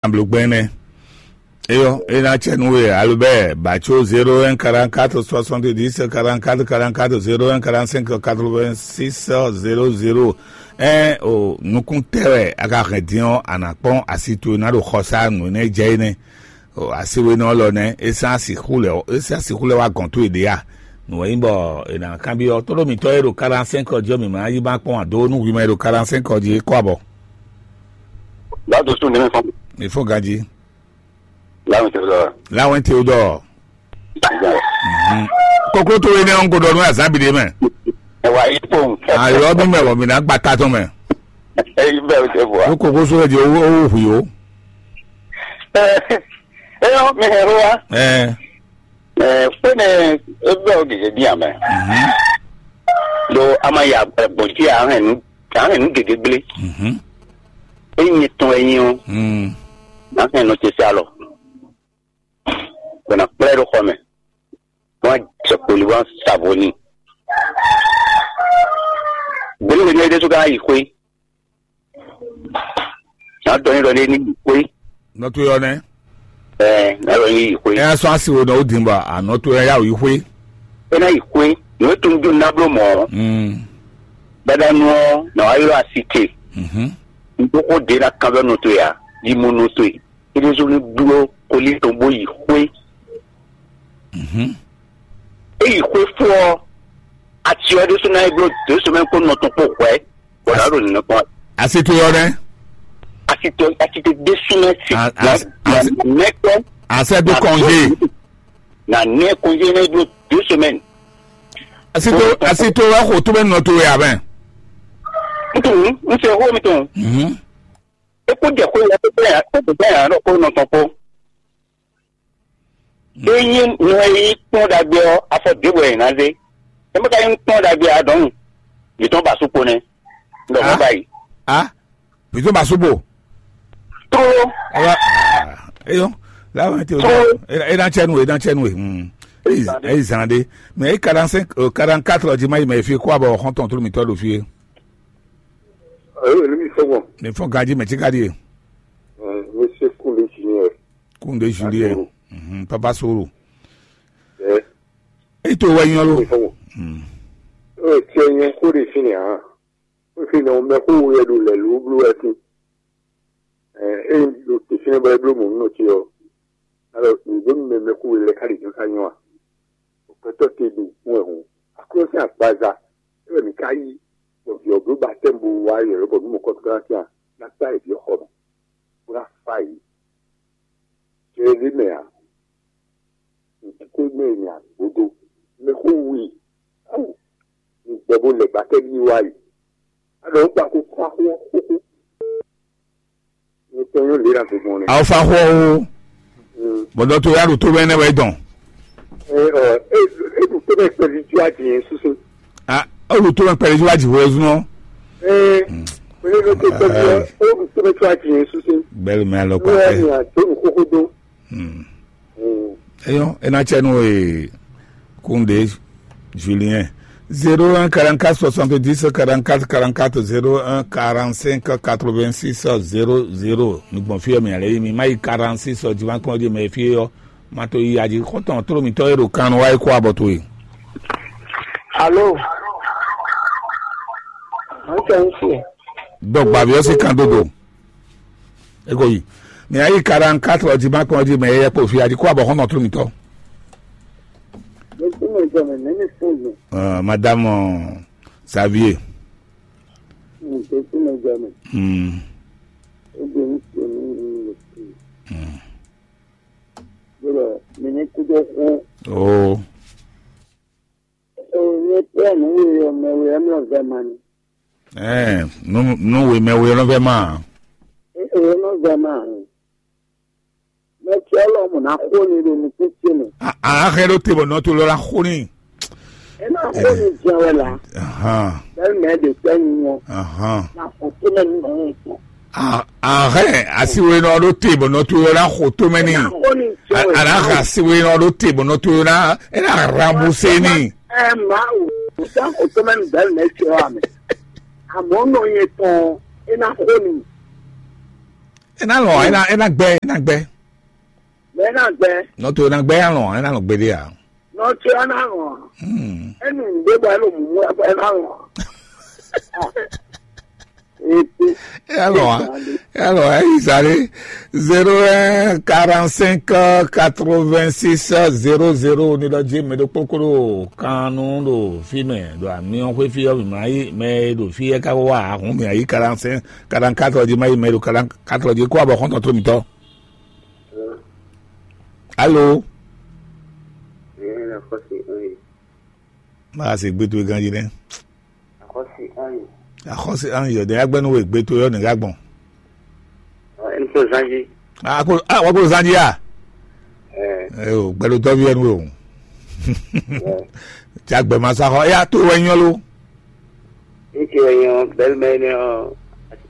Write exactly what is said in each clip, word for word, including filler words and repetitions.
Bló gbɛn nɛ́. Eyɔ, é ná cɛ nú we, Albert Bacho, zéro un quarante-quatre soixante-dix quarante-quatre quarante-quatre, zéro un quarante-cinq quatre-vingt-six quatre-vingt-six zéro zéro. Ɛn o, nukún tɛ wɛ a ka hɛn din ɔ́, a nǎ kpɔ́n asi towe ná ɖo xɔsá nǔ énɛ́ jɛ é nɛ́. O, asi we nɔ lɔ nɛ́, é sán asi xú lɛ, é sán asi xú lɛ wá gɔn towe ɖě a? Nǔ wɛ nyí bɔ è nǎ kanbyɔ́ tóɖó mǐtɔn e ɖo quarante-cinq ɔ́ jí ɔ́, mǐ ma yí ma kpɔ́n ǎ dó nú hwi mɛ e ɖo quarante-cinq ɔ́ jí é kɔ abɔ. Bado sun ne fɔ. Mi fɔ ganji. Lawen te dɔ. Lawen te dɔ. Mhm. Koklo to ene ɔn ko dɔ nu azan bi de mɛ. Ewa yi pon. Ayɔ mi mɛ wɔ mi na gba ta tɔn mɛ. Eyi bɛ o te bua. O koko so de o o hui o. Eh, eh, mi hɛn wa. Eh. Eh, kpɛnɛ, e bɛ o gege bi amɛ. Mhm. Do ama ya gbɔn ti a hɛn nu, a hɛn nu gege gble. Mhm. Eyin tɔn eyin o. Mm. Na hɛn nɔ te se alɔ. Bɛna kplɛ ɖo xɔ mɛ. Wọn jɛ kpoli wọn savo ni. Gbele ne ɖe so ka yi xwe. Na dɔ ni dɔ ne ni yi xwe. Nɔ to yɔ nɛ. Ɛ, na dɔ ni yi xwe. Ɛ sɔn asi wo nɔ o din ba, a nɔ to yɔ ya o yi xwe. E na yi xwe. Nɔ e tun dun na blo mɔ. Mm. Dada nɔ, na wa yɔ asi te. Mhm. N ko ko de na kan bɛ nɔ to ya. Di mo nɔ to yi. Éɖésú ní bló koli tɔn bó yi xwé. Mhm. É yi xwé fó ɔ́, aci ɔ́ ɖésú ná é bló dě somɛ́ kpó nɔ tɔn kpó hwɛ̌, bɔ nǎ ɖo nǔnɔ kpɔ́n. Asi to yɔ nɛ. Asi to asi to ɖésú mɛ si. A- na- asi- na- asi- nɛkpɔ́n. Asɛ do kɔnze. Na nɛ kɔnze nɛ bló dě somɛ́. Asi to asi to wɛ xo to bɛ nɔ to wɛ abɛ. Ntun n se xó mi tun. Mhm. E kó jɛ xó yɛ kó bɛ yà kó bɛ yà ɖɔ kó nɔ tɔn kpó. Eyin nu e yi kpɔn ɖagbe ɔ́, afɔ ɖěbɔ yɛ ná zé. E mɛ ka yi kpɔn ɖagbe adɔn. Yitɔn ba sukpo nɛ. Ndɔ mɔ Ah. Ba yi. Ah, plutôt ba subo. Tó Ela, eyo, la wɛ te o. Tó. Ela ena chenu, ena chenu. Hmm. Eyi zande. Mais quarante-cinq, euh, quarante-quatre di ma yi mais fi quoi bon, on ton tout mi to do fi. Ayo, ni mi sɔgbɔn. Mais fo gaji mais ti gaji. Monsieur Koundé Junior. Koundé Julien. Mhm, Papa Soro. Ɛ. E to wa nyɔ lo. Mi sɔgbɔn. Hmm. Ɛ tiɛ nyɛ ko de fini ha. Ko fini o mɛ ko wo yɛ do lɛ lo blo wɛ tin. Ɛ e do te fini ba blo mo no ti o. Alors, nǔgbó mɛ mɛ ko lɛ ka de jɔ ka nyɔ a. Gbɛtɔ́ te ɖo kún wɛ hǔn. Aklúnɔ́ sín agbaza é wɛ mǐ ká yí, bɔ vǐ ɔ́ bló batɛ́mu bó wá yɔ̌yɔ́ bɔ nú mɔ̌kɔ́tɔ́ ná tɛ́n ná kpá yě vǐ ɔ́ xɔ mɛ, bó ná fá yě. Jɛ ɖé mɛ ǎ. Nǔkúkú mɛ è nyi agbódó. Mɛ xó wu i. Áwù. Mi gbɔ bó lɛ batɛ́mu ní wá yě. Á ɖɔ ó kpa kó kó axó xóxó. Awo fa xɔ o. Bɔdɔ to ya ɖo to bɛ ne wɛ dɔn. Eɖu tó bɛ kpɛvi tí a ti yẹn susu. A o ɖo to bɛ kpɛvi tí a ti wɛ zun. Ee pẹlú ló tó kpɛvi ɔ o ɖu tó bɛ tí a ti yẹn susu. Bɛlu mɛ alɔ kpakpɛ. Wɛ ni a tó nu kókó dó. Eyɔn ena tsɛ nu ee. Kunde Julien. Zéro un quarante-quatre soixante-dix quarante-quatre quarante-quatre, zéro un quarante-cinq quatre-vingt-six zéro zéro. Mi gbɔn fiyɛ mi ale mi ma yi quarante-six ɔ jiwa kpɔn di mɛ fiyɛ ɔ. Ma to yi aji xɔtɔn toro mi tɔ ero kan wa yi kɔ abɔ to yi. Alo. An kɛ n fiyɛ. Dɔgba bi ɔsi kan dodo. E ko yi. Mi ayi quarante-quatre ɔ jiwa kpɔn di mɛ yɛ kpɔ fiyɛ aji kɔ abɔ xɔtɔn toro mi tɔ. Jésù mɛ jɔ mɛ mɛ mi fún mi. Madame Xavier. Jésù mɛ jɔ mɛ. Hmm. Ó di ní sè ní ní ní sè. Hmm. Yọrọ mi ní kúdó kú. Oh. Ó ní pẹ́ ní wíyọ mẹ wíyọ mẹ vẹ ma ni. Ɛɛ, nu nu wemɛ we lɔ vɛ ma. Ee, nɔ zɛ ma. Mɛ tí Ọlọ́run ná kó ni ɖo nukún ce mɛ. A a xɛ ɖo te bɔ nɔ to lɔ la xo ni. E ná kó ni jẹ wɛ la. Ahan. Bẹ́ẹ̀ mẹ́ de tẹ́ ni wọn. Ahan. Na kó tó mẹ́ nínú ọ̀hún tó. A a xɛ asiwe nɔ ɖo te bɔ nɔ to lɔ la xo to mɛ ni. E ná kó ni jẹ wɛ la. A a xɛ asiwe nɔ ɖo te bɔ nɔ to lɔ la e na rambuse ni. Ɛ ma o, o tán kó tó mẹ́ nu bẹ́ẹ̀ mẹ́ tí ọ amẹ. Àmọ́ nɔ yẹn tán, e ná kó ni. É ná lɔn, é ná, é ná gbɛ, é ná gbɛ. Mɛ ná gbɛ. Nɔ to é ná gbɛ, é ná lɔn, é ná lɔn gbeɖé a. Nɔ to é ná lɔn. Hmm. Enu ɖé bɔ elo mú ɛ ná lɔn. Ete. É ná lɔn a. É ná lɔn a, é yi zalé. Zéro un quarante cinq quatre vingt six zéro zéro, ní ɖɔ jí mɛ ɖo kpókpó ɖo kan nú ɖo fí mɛ ɖo amyɔ xwé fí ɔ́, mǐ ma yí mɛ e ɖo fí é ká wá ahun mǐ ayí quarante cinq quarante quatre jí ma yí mɛ ɖo quarante quatre jí kó abɔ xɔ́ntɔn tó mǐtɔn. Alo. Ɛ, axɔ́sí, ɛ. Má a se gbé towe ganjí nɛ́. Axɔ́sí, ɛ. Axɔ́sí, ɛ, yɔ ɖe agbɛnu we gbé towe ɔ́ nǐ gá gbɔn. Ɔ, ɛni tó zán jí. A ko a wɔ ko zán jí a. Ɛ. Ɛ o, gbɛɖo tɔ́ví ɛnu o. Ɛ. Tí agbɛ ma sa xɔ, ya tó wɛ nyɔ lo. Ŋutsu e nyɔ bɛlmɛ nɛ ɔ,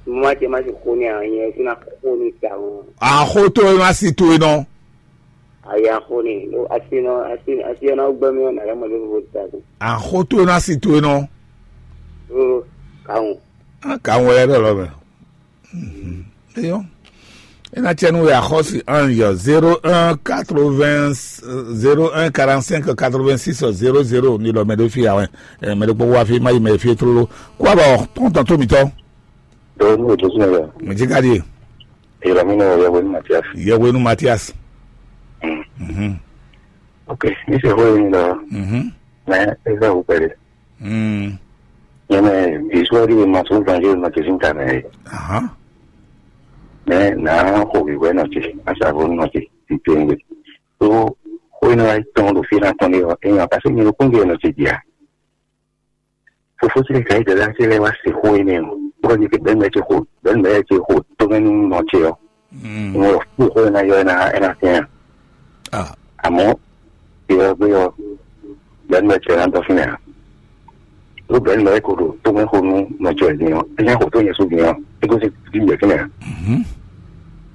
mo ma ce ma se xo nɛ a, nyɛ fina xo ni ta o. Axó tó e ma si towe nɔ. Aya xo ni, lo asi nɔ, asi asi ɔ́ ná gbɛ́ mì ɔ́, nǎ lɛ́ mɔ ɖěvo ta ko. Axó tó e ma si towe nɔ. Lo kawun. Kawun wɛ lɛ ɖɔ lɔ mɛ. Eyɔ. Ena cɛ nu ya xɔsi ange zéro un quatre-vingts, zéro un quarante-cinq quatre-vingt-six zéro zéro ni lɔ mɛ ɖo fi awɛ. Mɛ ɖo kpɔkpɔ afi ma yi mɛ fi tlolo. Kó abɔ tɔntɔn tó mitɔ. Dɔwɔ ní òjò sínú rẹ̀. Mɛ jí ká di. Ìrọ̀ mi náà yẹ wẹ́nu Matias. Yẹ wẹ́nu Matias. Mhm. Ok, ní ṣe hó yìí lọ. Mhm. Mẹ ẹ fẹ́ wò pẹ̀lẹ́. Mm. Nyɛmɛ visual de ma so vanje ma ke sin ta mɛ. Aha. Mɛ na ho bi wɛ nɔ ti, asa vo nɔ ti, ti tengbe. So, ho ina ai tɔn do fi na tɔn de o, e nya kasi mi ko nge nɔ ti dia. Fofo ti ka ide la ti le wa si ho ine o. Ko ni ke ben me ti ho, ben me ti ho, to men nɔ ti o. Ŋlɔ kpó xó ena yɔ ena ena fia. Amɔ̌ yɔ gbé yɔ bɛ̌nu bɛ cɛ ná dɔ fínɛ́ ǎ. Ɖó bɛ̌nu bɛ ko ɖo tómɛ xó nú nɔ cɛ din ɔ́, é nya xó tó nyɛ sú din ɔ́, é gosín dín yɛ fínɛ́ ǎ.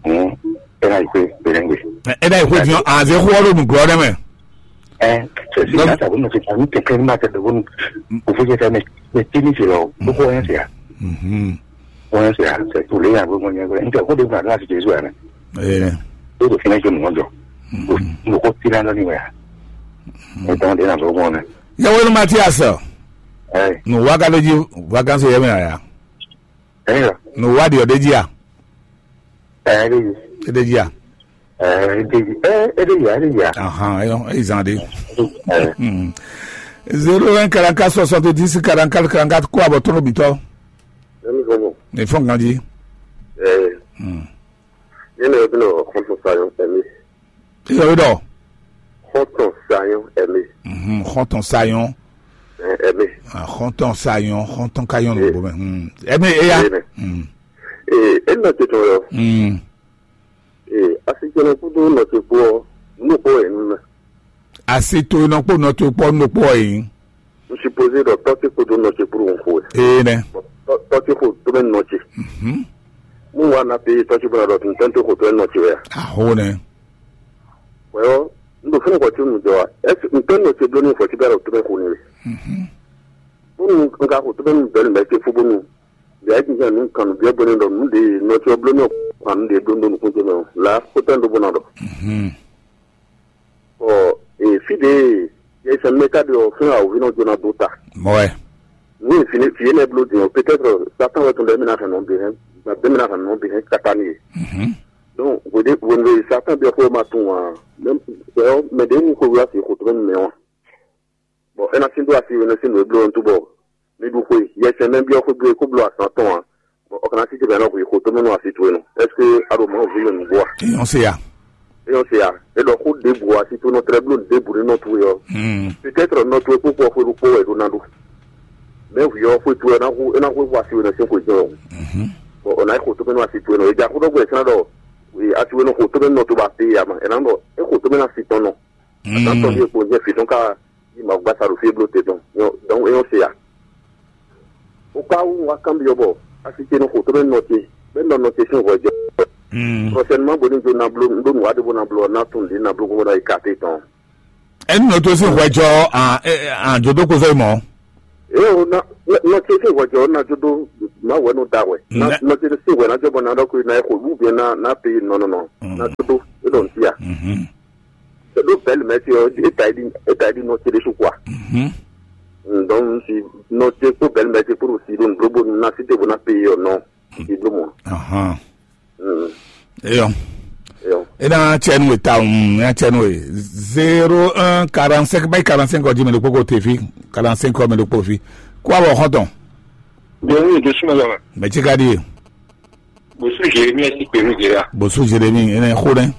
Hǔn é ná yi xwé bɛnɛ́gbe. É ná yi xwé din ɔ́, àzě xó ɔ́ ɖo nǔglɔ́ ɖɛ́ mɛ. Ɛ sɛ si ná sa bónú fi ta ní kɛkɛ ní ma tɛ bónú òfin jẹ tɛ mɛ mɛ tí ní fi lɔ bó kó ɔyàn sia. Ɔyàn sia sɛ tó lé yàn bó mọ nyɛ gbẹ níta kó de gbà láti jésù yà mɛ. Tó tó fínɛ jẹ mọ jọ mo kó tí náà ní wẹ̀ yà. Mo tán dé nà bó mọ nẹ. Yẹwò ní Matias. Ɛ Nù wá ká ló jí vacances yẹ mɛ àyà. Ɛ yà. Nù wá di ọ̀dẹ́ jí à. Ɛ ẹ dé yìí. Ẹ dé jí à. Ɛ ẹ dé yìí. Ɛ ẹ dé yìí ẹ dé yìí à. Ahan, ẹ yọ, ẹ yìí zan de. Ɛ. Hmm. Zéro un quarante-quatre soixante-dix quarante-quatre quarante-quatre kó àbọ̀ tɔnɔ bìtọ́. Ẹni gbogbo. Ní fún kan jí. Ẹ. Hmm. Yẹn lè bí nọ kọ́ńtò sayọ ẹ̀mí. Kí ló dọ̀? Kọ́ńtò sayọ ẹ̀mí. Mhm, kọ́ńtò sayọ. Ẹ ẹ̀mí. Ah, kọ́ńtò sayọ, kọ́ńtò kayọ ló Ẹ. Bọ̀ mẹ́. Hmm. Ẹ̀mí, ẹ yá. Ẹ. Hmm. Ee, e nɔ te tɔn yɔ. Hmm. Ee, asi jɛnɛ kudo nɔ te kpɔ, nu kpɔ yɛ nu na. Asi to nɔ kpɔ nɔ to kpɔ nɔ kpɔ yi. N supposé dɔ tɔ te kudo nɔ te kpuru n xo. Ee nɛ. Tɔ te xo to mɛ nɔ te. Mhm. Mu wa na pe tɔ te bɔ dɔ tun tɔ te xo to mɛ nɔ te wɛ. Aho nɛ. Wɛ yɔ, n do fɛn kɔ ti nu jɔ wa. Est-ce que n tɛ nɔ te blo ni fɔ ti bɛ dɔ to mɛ xo ni wɛ. Mhm. Ko nu n ka xo to mɛ nu bɛ ni bɛ te fo bonu. Bia jijɛ nu kan nu bia bɔ ne dɔ nu de nɔ te blo ni kan nu de blo no nukun te mɛ. La ko tɛ n do bona dɔ. Mhm. Ɔ, e, fi ɖe yɛsɛn mɛ ka ɖe ɔ fɛn awo vi nɔ jona do ta. Mɔɛ. Ni fi ne fi ne blo din ɔ, peut-être Satan wɛ tun ɖe mi na hɛn nɔ bi hɛn, ɖe mi na hɛn nɔ bi hɛn kata ni ye. Mhm. Donc wede wende Satan bi ɔ ko ma tun wa. Même c'est mɛ de mu ko wa si ko to mɛ wa. Bon, e na sin do asi we na sin do blo ntu bɔ. Mi ɖu xwe, yɛsɛn mɛ byɔ́ xwé gbe kó bló azǎn tɔn ǎ. Bɔ ɔ ka ná sí te bɛ̌ nɔ hwǐ xo tónú nú así towe nu. Est-ce que a ɖo Mawu ví we nǔgbó a? Èèyàn se ya. Èèyàn se ya. É ɖɔ xó ɖěbǔ así tónú tlɛ́ bló ɖěbǔ ní nɔ towe ɔ́. Peut-être nɔ towe kpó kpó xwé ɖokpó wɛ è ɖó ná ɖó. Mɛ hwǐ ɔ́ xwé towe ɔ́ ná hu é ná hwé hu así we nɔ sín xwé jɛ́n ɔ́. Bɔ ɔ ná yi xo tónú nú así towe nɔ. È jɛ axó ɖɔ́gbɔ́ è sɛ́n ɖɔ así we nɔ xo tónú nɔ to ba te ya ma. È nǎ ɖɔ é xo tónú nú así tɔn nɔ. Atán tɔn ɖíe kpo jɛ fǐ tɔn ká yi Mawu gbasa ɖo fí e bló te tɔn. Donc é nyɔ́ se ya. Ó ká wú wá kanbyɔ́ bɔ asi ce nɔ xo tó bɛ nɔ ce bɛ nɔ nɔ ce sín hwɛ jɔ. Prochainement bo ní jo na bló ɖó nǔ wá ɖé bó na bló ɔ́ ná tún lǐ na bló gbogbo ná yi ka te tɔn. Enu nɔ tó sín hwɛ jɔ àjòdó kó fẹ́ mọ́. Eye o na Nɔ ce sín hwɛjɔ ná jó dó Mawu wɛ nɔ da hwɛ. Nɔ ce sín hwɛ ná jɔ bɔ ná ɖɔ kó ná xo wú bien ná ná pe nɔ nɔ nɔ ná jó dó é ɖɔ ntí a. Ɖó bɛl mɛ ti ɔ é ta yi di é ta yi di nɔ ce ɖésú kua. Donc si nɔ ce kpó bɛl mɛ ce kpó ɖo si ɖo nǔɖó bó ná sí te bó ná pe ɔ nɔ si bló mɔ. Eyɔ. Eyɔ. E na cɛ nu e ta um e na cɛ nu e zéro un quarante cinq bai quarante cinq ɔ jí mɛ ɖokpó ko te fi quarante cinq ɔ mɛ ɖokpó fi kó abɔ xɔntɔn. Bɛnú ìdó súnmọ́ lọ́wọ́. Mɛ tí ka ɖi e. Bòsú Jérémie ti pè mí jìrà. Bòsú Jérémie e na xó nɛ.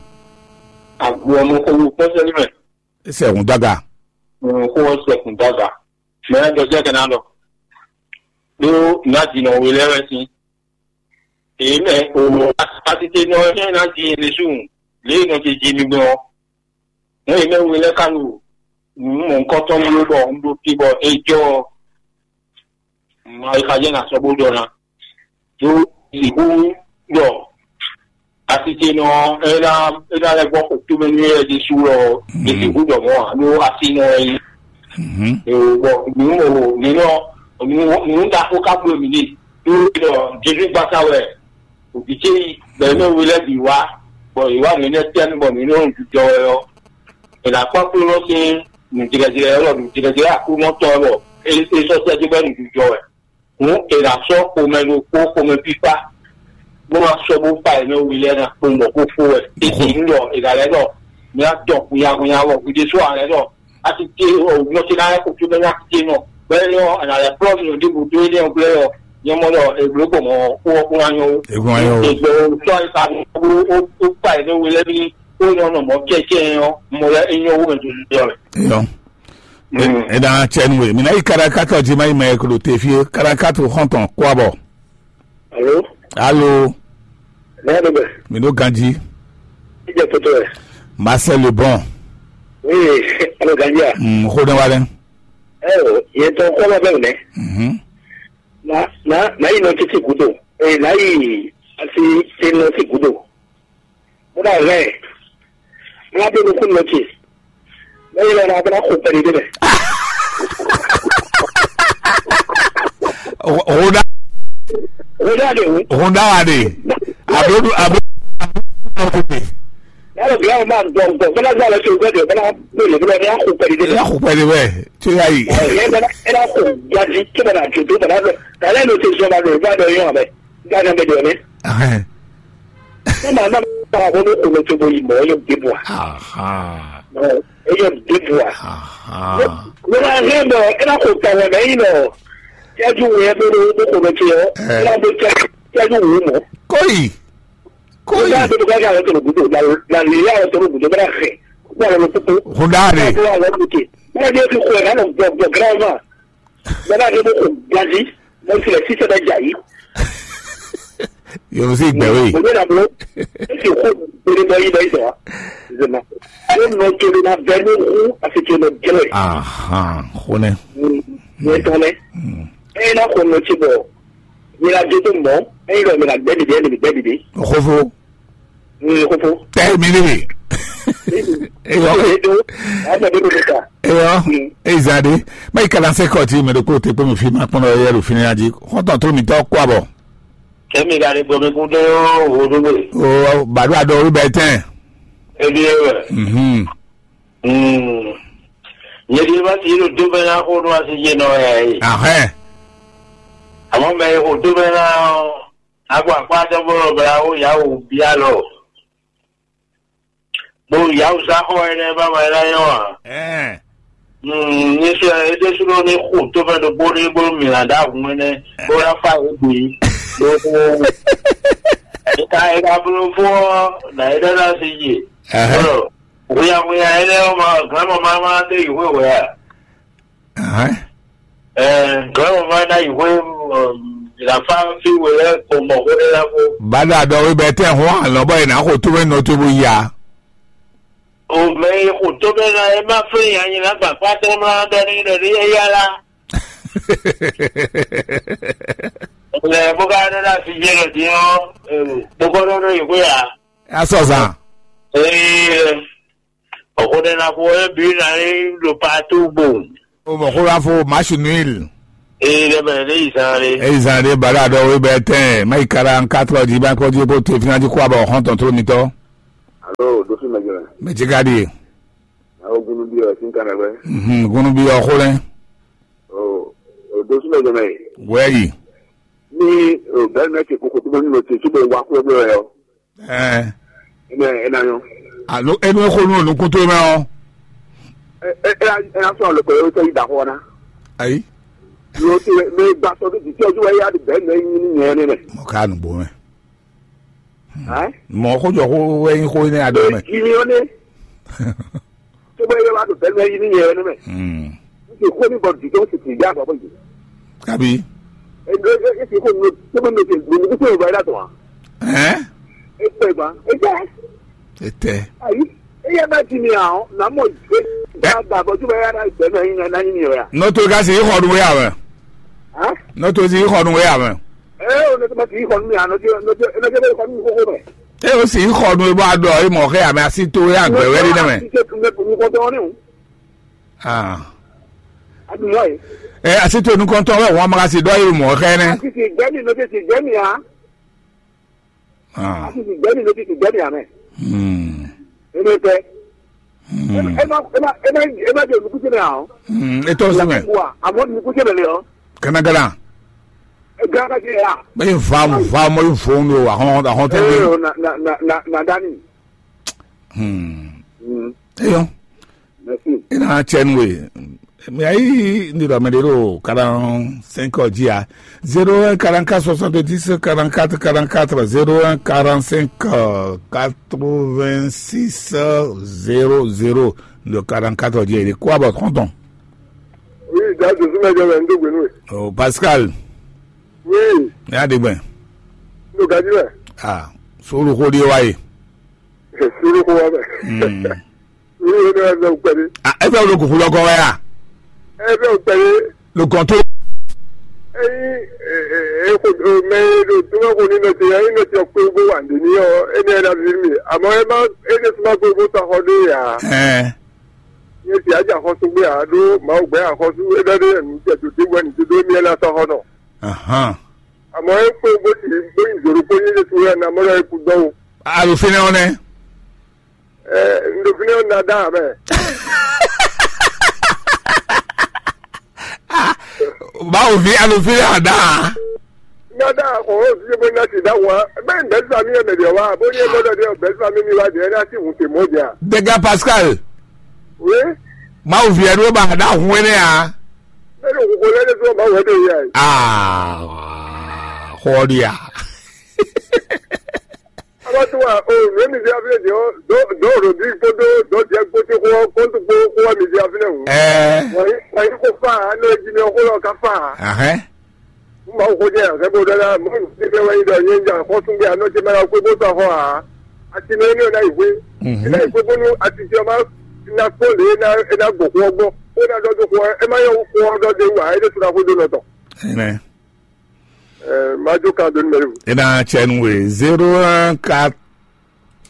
Àgbo ọmọ kó wú pọ́sẹ́ níbẹ̀. E sɛ hun daga. Kó wọ́n sẹ̀kùn dàgbà. Mɛ ɛ dɔjɛ kɛ ná lɔ. Ɖó ná di nɔ we lɛ wɛ sín. Èyí mɛ òun atitɛ nɔ ɛ ná di yẹn lésù. Lě nɔ ti di mi gbɔn. Mɛ èyí mɛ we lɛ ká lu. Nǔ mɔ nukɔntɔn mi bɔ un ɖo fi bɔ é jɔ. Ma yi xa jɛ na sɔ bó ɖɔ ná. Ɖó sixú ɖɔ asitɛnɔ ɛ ná ɛ ná lɛ gbɔ xo tómɛ nú yɛ ɖésú ɔ ɖésú ɖɔ mɔ alo asinɔ ɛ yi. Bɔn nǔ mɔ nínɔ nǔ ɖaxó ká bló mì ní ɖó ɖɔ Jezu gbasa wɛ òbí ce yi bɛn mɛ wi lɛ bǐ wá bɔ yě wá nǔ énɛ́ tɛ́ nú bɔ nǔ énɛ́ ɖo jijɔ wɛ ɔ́, è nǎ kpɔ́ kplɔ́nɔ sín nǔjlɛ́jlɛ́ ɔ́ ɖɔ nǔjlɛ́jlɛ́ Aklúnɔ tɔn ɔ́ bɔ é é sɔ́ sɛ́ dó bɔ é ɖo jijɔ wɛ. Hǔn è nǎ sɔ́ xomɛ ɖokpó xomɛ fífá bó ná sɔ́ bó fa è mɛ wi lɛ́ɛ ná kpowun bɔ xó fó wɛ. É ɖi nǔ ɖɔ è nǎ lɛ́ ɖɔ mi ná dɔn hunnyahunnya wɔ hwi ɖésú ǎ lɛ́ ɖɔ a ti ce ɔ nɔ ce ná lɛ́ xo có bɛ́ ná ti ce nɔ bɔ é nyɔ́ è nǎ lɛ́ kplɔ́ mi ɖěbǔ dó énɛ́ ɔ́ glɛ́ ɔ́ nyɛ mɔ ɖɔ è blǒ gbɔn mɔ̌ xó ɔ́ kún ná nyɔ́ ó. È gbɔn ná nyɔ́ ó. È gbɔn sɔ́ è sa ó ó ó fa è mɛ wi lɛ́ɛ bí ó nyɔ́ nɔ mɔ̌ cɛ́cɛ́ ɔ́ mɔ lɛ́ é nyɔ́ wú mɛ jɔjɔjɔ mɛ. Eyɔ. E e na cɛ nu e mi na yi karakatɔ ji ma yi mɛ ko ɖo te fie karakatɔ xɔntɔn kó abɔ. Alo, alo, ne y'a ɖo bɛ? Mi ɖo ganji. Idjɛ kpɛtɛ wɛ. Marcel Lebon. Oui, alo ganji a? Mm, xo ne wa lɛ. Ɛɛ, yɛ tɔ kɔ ma bɛ wɛ. Mhm. Na na na yi nɔ titi gudo. Ee, na yi asi te nɔ ti gudo. Bó ná hɛn ɛ. Ná bó nukún nɔ ce. Bẹ́ẹ̀ lọ náà bá kó pẹ̀lú débẹ̀. Honda. Honda de o. Honda wa de. Abrodu abrodu. Yàrá bí àwọn máa ń gbọ́ gbọ́ bọ́lá gbọ́ lọ sí ọgbẹ́ de bọ́lá gbélé bọ́lá ní àkó pẹ̀lú débẹ̀. Ní àkó pẹ̀lú bẹ́ẹ̀ tí ó yá yìí. Ẹ ẹ bọ́lá ẹ náà kó gbadí tí bọ́lá àjò tó bọ́lá bẹ́ẹ̀. Tàlẹ́ ló ti sọ ma lọ ìgbà dọ̀ yín ọ̀bẹ. Ìgbà náà bẹ̀ dọ̀ ní. Ní màá má bá àwọn olókùnrin tó bóyí mọ́ yóò dé bọ̀. Yóò dé bọ̀. Ní máa hẹ́ bọ̀ ẹ náà kó tàwọn ẹ̀mẹ́ yìí lọ. Yájú wo ẹ bẹ́ẹ̀ ló kò lọ tiẹ̀ ọ́. Ẹ náà bó tẹ́ yájú wò ó mọ́. Kóyì. Kóyì. Nígbà tó bá yà wọ́n tó lògùdò làlẹ́ yà wọ́n tó lògùdò bá fẹ́. Wọ́n lọ kókó. Kúndà rè. Wọ́n lọ kókó. Wọ́n lọ kókó ẹ̀ náà lọ gbọ̀ gbọ̀ gírámà. Bẹ́ẹ̀ ni mo kò gbadí, mo tilẹ̀ sí sẹ́dá jà yìí. Yòó sì gbẹ̀wé. Mo ní ìdààmú, ó sì kó gbèrè bọ́ yìí bọ́ yìí sọ̀rọ̀. Zema. Ó nọ jolo na bẹ́ẹ̀ ní hu àti jolo jẹ́wẹ̀. Ahan, xonɛ. Ní tán lẹ. Ẹ yín náà kò nọ tí bọ̀. Mi ra dé tó mọ́, ẹ yín lọ mi ra gbẹ́ dìde, ẹ lè mi gbẹ́ dìde. Xofo. Ní kókó. Tẹ́ mi níbi. Eyɔ. Eyɔ. Eyizade. Mɛ yi kalan se kɔ ti mɛ ɖokpó te kpé mi fi ma kpɔn ɖɔ yɛ ɖo fini adi. Xɔntɔn tó mi tɔ kó abɔ. Kɛmi ka ɖe gbɔmɛ kún ɖe wo ɖo gbe. O bàdó àdó orí bɛ tɛn. Ebi ewɛ. Mhm. Mm. Nyɛ di ba ti lo do bɛ na ko no asi je nɔ ya yi. Ahɛ. Àmọ́ mɛ yi ko do bɛ na Agbo akpá tɔn bó nɔ bla wó yǎwǔ bíá lɔ. Bó yǎwǔ sá xɔ énɛ́ bá ma é ná nyɔ́ ǎ. Ɛɛ. Ní sɔ é ɖésúnɔ ní xo tó fɛ́ ɖokpó ní bó mǐ ná ɖó ahun énɛ́ bó ná fá yě bǐ. Bó ká é ká bló fó ɔ́ nǎ é ɖɔ ná sí yi. Ɛhɛn. Bó ɖɔ hweyahweya énɛ́ ɔ́ ma glǎn mɔ má má dó yi hwéhwɛ a? Ahɛn. Ɛɛ, gɔ̌ ma ná yi hwé, um, la fa fi we lɛ ko mɔ hwé ɖé la ko. Bada dɔ wí bɛ tɛ hɔn alɔ bɔ yìí ná xo tó bɛ nɔ tó bó ya. O mɛ yi xo tó bɛ na e ma fún ya nyi na gba kpa tɛ ma dɔ ni dɔ ni e ya la. Lɛ bó ka ɖe la fi jɛ lɔ di ɔ, bó kɔ ɖɔ ɖɔ yi hwé ya. Asɔ zan. Ee. Ọ̀kúndɛ́nákú ɔ́ bǐ ná nyí ɖo paatú gbo. O mɔ xó wá fó Machinuil. Ee, ɖe mɛ ɖe yi zan ɖe. Eyi zan ɖe bala ɖɔ we bɛ tɛn mayi kala nkatɔ ji ba kɔ ji ko te fina ji kó abɔ xɔn tɔn tro mitɔ. Alo, ɖo fi mɛ jɔ. Mɛ ji ka ɖi. Awo gunu bi ɔ sin kan na gbɛ. Mhm, gunu bi ɔ xo lɛ. O, o ɖo fi mɛ jɔ mɛ. Wɛ yi. Ni o bɛ mɛ ke koko to mɛ ni lo te so bɛ wa kó bɛ yɔ. Ɛɛ. Ina ina yɔ. Alo enu e xo nu nukun to mɛ ɔ. Ɛ ɛ ɛ ɛ na sɔ lo ko yo tɛ yi da xɔ na. Ayi. Lo te mɛ gba sɔ do di tɛ ju wa ya de bɛ mɛ nyi ni nyɛ ne mɛ. Mo ka nu bo mɛ. Ɛ? Mɔ xó jɔ xó wɛ nyi xó ne adɔ mɛ. Jimi ɔ ne. Tó bá yẹ wá tó bẹ́ẹ̀ ní yín yẹn ní mẹ́. Hmm. Ní ti kó ní bọ̀ dùdú ó sì ti yá àgbà bọ̀ yìí. Kabi. Èdè èsì kò ní tó bá ní ti ní kó tó ìwà yàtọ̀ wá. Ɛn? Ètò ìgbà ètò. Ètè. Ayi. Eyẹ bá ti ní àwọn nàmọ ìgbé. Ẹ. Bá bọ̀ tó bá yára ìgbẹ́ náà yín náà yín yẹn wá. N'o to ka si yi xɔ nu wɛ awɛ. Hã? N'o to si yi xɔ nu wɛ awɛ. Ɛ o ne tó bá ti yi xɔ nu mi àná tí ne tó bá yi xɔ nu mi kókó mɛ. E o si xɔ nu e bɔ a ɖɔ e mɔ xɛ ame asi to e agbɛ wɛ ɖi nɛ mɛ. Ah. Ɛ asi to nukɔntɔn wɛ wɔn ma si ɖɔ e mɔ xɛ nɛ. Ah. Hmm. Hmm. E tɔ si mɛ. Kanagana. Bɛ yi va va mɔ yi vo nu ahɔn ahɔn tɛ bi. Hmm. Eyɔ. Ina cɛn we. Mais ayi ni dɔ mɛ de ɖo quarante-cinq ɔ dzi a. Zéro un quarante-quatre soixante-dix quarante-quatre quarante-quatre, zéro un quarante-cinq quatre-vingt-six zéro zéro. Le quarante-quatre ɔ dzi e de kó abɔ trente ans. Oui, da dozu mɛ jɔ mɛ n do gbe nu e. Oh, Pascal. Oui. Ya de gbɛ. N do gaji mɛ. Ah, solu ko de wa ye. Solu ko wa mɛ. Hmm. Wúlò ní wàá fẹ́ pẹ̀lú. Ah, ẹ fẹ́ lo kùkú lọ́kọ́ wẹ́ à? Ẹ fẹ́ pẹ̀lú. Lo kàn tó. Ẹyin ẹ ẹ kò mẹ ẹ lò tó bá kò ní nọtì ẹ ní nọtì ọkọ egbò wà ní ní ọ ẹ ní ẹ dàbí mi àmọ́ ẹ má ẹ ní sọ ma kó egbò sọ akọ dé yà. Ẹ. Ní ti àjà àkọsọ gbé àdó màá gbẹ àkọsọ ẹ dọdẹ ẹ ní tẹ tó dé wẹ ní tó dé mi ẹ lásán họ nọ. Ahan. Àmọ́ ẹ kó egbò tì í gbé ìzòrò kó ní ẹ tó yẹ ní amọ́dọ̀ ẹ kú dánwò. Àlùfínà ọ̀nẹ́. Ɛ, n ɖo fínɛ́ ɔ́, un ná dá ǎ mɛ. Mawu ví alufí ná dá ǎ. Ná dá ǎ xɔ ó sí bó ná ti dá wǎ. Bẹ́ẹ̀ ní bẹ́ẹ̀ sami ẹ̀ mẹ̀dẹ̀ wá, bó ní ẹ̀ mọ́dọ̀ dé ọ̀ bẹ́ẹ̀ sami ní wá dé ẹ̀ ná sí hùn tè mọ́ dé à. Dégà Pascal. Oui. Mawu ví ẹ̀ ló bá dá hun ẹ̀ nẹ́ à. Bẹ́ẹ̀ ni òkùnkùn lẹ́ni tó máa wẹ̀ dé yá yìí. Ah, xɔ́ di à. Abattoir o, le misère vient de, de, de Rodrigue Kodo, de Diego Kodo, contre Kodo, misère vient. Ɛɛ. Wai, wai ko fa, ano jimi ko lo ka fa. Ahɛ. Mo ko je, ke bo dala, mo ti be wai do yin ja, ko tun be ano je ma ko bo sa ho a. Ati no ni na iwe. Mhm. Na iwe bo nu ati je ma na ko le na na go ko go. O na do do ko, e ma yo ko do de wa, e de tura ko do no to. Amen. Ɛ, Majo kan dɔnni mɛ. E na cɛ nu we zéro un quatre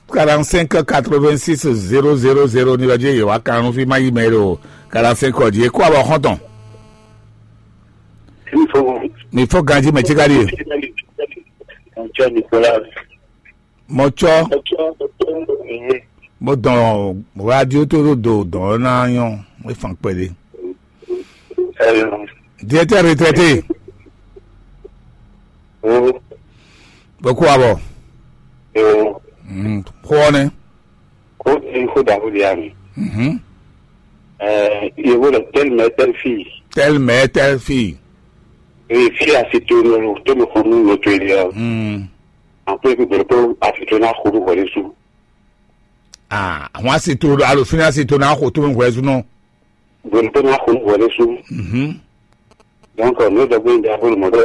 quarante-cinq quatre-vingt-six zéro zéro zéro ni lɔjɛ ye wa kan nu fi ma yi mɛ ɖo quarante-cinq kɔ di e kó abɔ xɔntɔn. Mi fo ganji mɛ tsi ka di e. Ŋtsɔ Nicolas. Mɔtsɔ. Mɔtsɔ. Mo dɔn radio to do do dɔn na yɔn e fan kpɛde. Directeur retraité. Bɛ kó abɔ. Xɔ ne. Ko ti ko da ko di ami. Yevo le telle mère telle fille. Telle mère telle fille. Et fille a cité no to me ko nu no to ele. Après que bere ko a cité na ko ko le su. Ah, àwọn àsìtò alòfin àsìtò náà kò tó ń wẹ̀ zunú. Bere ko na ko ko le su. Donc no da gbe da ko mo do.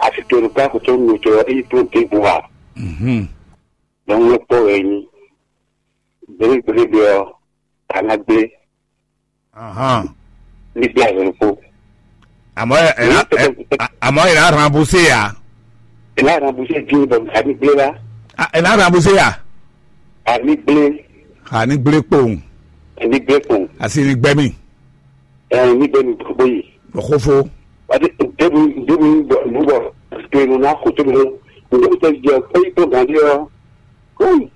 A cité no ka ko to no to e to te bo wa. Donc no po e ni. Bere bere be o. Kana gbe. Ahán. Ní bí àyẹ̀wò kó. Àmọ́ ẹ ẹ ẹ àmọ́ ẹ náà ràn bó ṣe yá. Ẹ náà ràn bó ṣe dín bọ̀ àní gbé lá. Ẹ náà ràn bó ṣe yá. Àní gbé. Àní gbé kpòun. Àní gbé kpòun. Àti ní gbẹ́mí. Ẹ ní gbẹ́mí gbogbo yìí. Lọ́kọ́fọ́. Parce que ɖěbǔ ɖěbǔ bɔ nǔ bɔ to e nɔ ná xo tó nɔ ɖěbǔ tɛ jɛ kpé tó gǎn ɖé ɔ́. Hum.